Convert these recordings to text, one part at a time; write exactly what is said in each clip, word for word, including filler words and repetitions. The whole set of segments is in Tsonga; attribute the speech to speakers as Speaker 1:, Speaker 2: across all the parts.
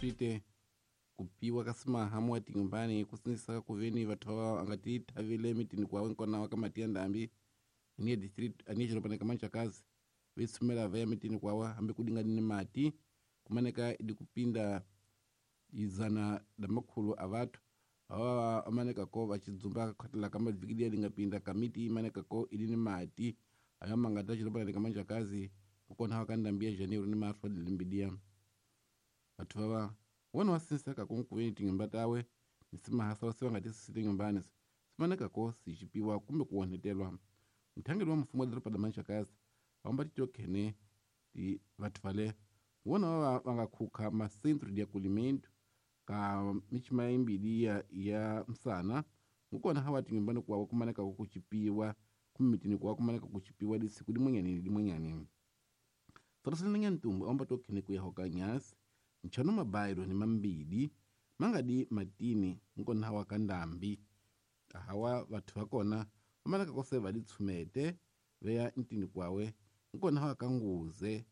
Speaker 1: Tite kupiwa ka simaha muwa tinyumbani kusinisa kuveni vathu ava angati thavile mitini kwawe nkona wa ka mati ya ndambi aniye district aniye chilopaneka manchakazi vetsumela vaya mitini kwawa hambi kudingani ni mati kumaneka idi kupinda izana da makhulu a vathu awa amaneka ko vachidzumba khatela ka mavikidia lingapinda kamiti imaneka ko ili ni mati ayo mangata chilopaneka manchakazi kukona wa ka ndambi ya Janeiro ni marfa dilimbidia vathu vava wona wasinsaka kunkuveni tinyumba tawe nisimahasa wasiwa ngati sisi nyumbani simaneka ko sichipiwa kumbe kuonetelwa mthangeli wa mfumo wa doroba la Manchakazi vamba titokhene ti vathu vale wona vava vangakhukha macentro de acolhimento ka michima imbili ya, ya msana ngukona hawa tinyumbani kwawo kumaneka kuchipiwa kumitini kwawo kumaneka kuchipiwa lisiku limwenyani limwenyani toroselenenya ntumbu amba tokhene kuyahoka nyasi nchano mabairo ni mambili mangadi matini nkona hawa kandambi ahawa vathu vakona vamanaka kose valitsumete veya ntini kwawe nkona hawa kanguze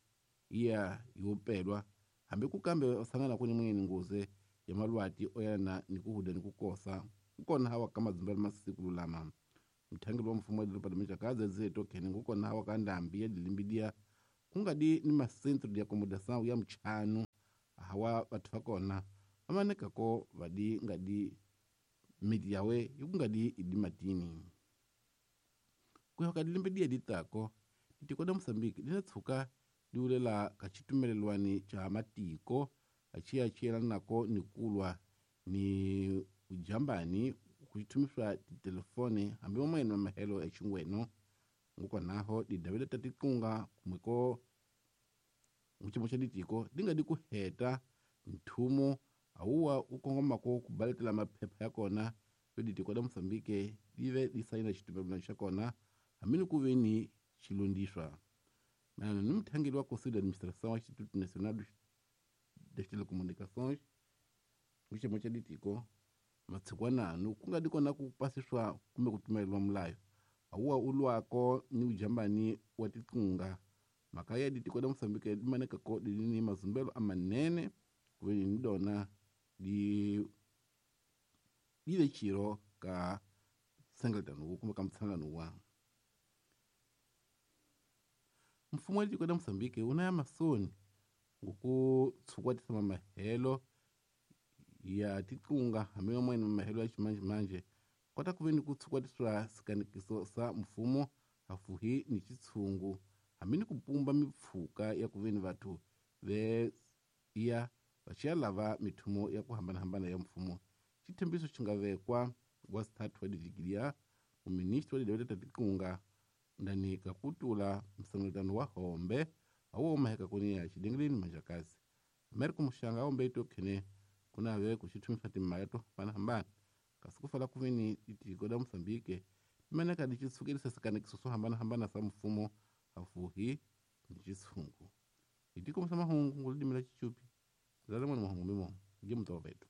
Speaker 1: iya yopelwa hambi kukambe vasangana kuni mwenyeni nguze ya malwati oyana ni kuhuda ni kukosa nkona hawa kamadzumba masiku lulama mthangeli wa mfumo wa doroba la Manchakazi aziye tokhene ngukona hawa kandambi ya dilimbidia kungadi ni macentro de acomodação ya mchanu hawa vathu vakona vamanekako vadi ngadi miti yawe ikungadi idi matini kuyoka dilimbidia ditako ditiko da Moçambique dinatshuka diulela kachitumelelwani cha matiko achiya chiyelanako ni kulwa ni ujambani kuchitumiswa titelefone hambi mamwene wa mahelo ya chingweno ngukonaho didavela tatikunga kumweko muchimo cha ditiko dingadi kuheta nthumo awuwa ukongomako kubaletela maphepha yakona yo ditiko da Moçambique dive disaina xitumelelano xa kona hambi ni ku ve ni xilondiswa mayelana ni mthangeli wa Conselho de Administração wa Instituto Nacional das Telecomunicações muchimo cha ditiko matshikwananu ku nga di kona ku pasiswa kumbe ku tumeleliwa mulayo awuwa ulwako ni ujambani wa tikunga mhaka ya ditiko da Moçambique dimanekako dilini mazumbelo amanene kuveni ni dona di dive chiro ka sengletano kumbe ka mtshangano wa mfumo wa ditiko da Moçambique una ya masoni ngokutshukwatisa mamahelo ya tikunga hambi mamwene mamahelo ya ximanjemanje kota kuveni kutshukwatisiwa sikanikiso sa mfumo hafuhi ni xitshungu hambi ni kupumba mipfhuka ya kuveni vathu ve iya vaxiya lava mithumo ya ku hambanahambana ya mfumo xithembiso xi nga vekwa wa sithathu wa divikilia muministri wa didavela ta tikunga ndani ka kutula msangelutano wa hombe awo umaheka kuni ya xidengeleni Manjakazi Amerika Muxanga awombe itokhene kunave kuxithumisa timali to hambanahambana kasi kufala kuveni tiko da Moçambique limaneka lixisukelisa sikanikiso swo hambanahambana sa mfumo hafuhi ni xitshungu hitiko sa mahungu ngulidimela xichupi lalamwana mahungu mimo nge mutoveto.